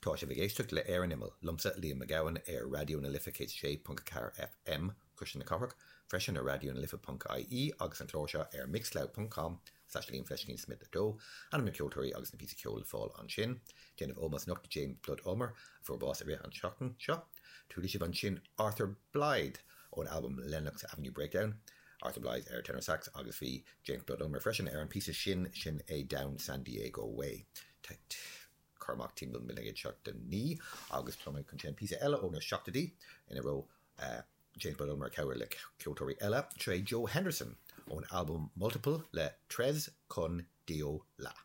Tá sibh ag éisteacht le Ar an Imeall, liomsa, Liam Mac Gabhann, ar Raidió na Life 106.4 FM, Cuisle na Cathrach, freisin ar raidionalife.ie agus an clár seo ar mixcloud.com slash Liam fleiscín Smith 2. Ainm na ceoltóirí agus na píosaí ceoil le fáil ansin. Déanamh ómós anocht do James Blood Ulmer, a fuair bás i rith an tseachtain seo. Chuala sibh ansin Arthur Blythe ón albam Lenox Avenue Breakdown, Arthur Blythe ar tenor sax agus bhí James Blood Ulmer freisin ar an píosa sin, sin é Down San Diego Way. Cur amach timpeall 1979 agus tá mé chun seinm píosa eile ó na seachtóidí ina raibh James Blood Ulmer ag cabhrú le ceoltóirí eile. Seo é Joe Henderson ón albam Multiple le Tres Con Dio La.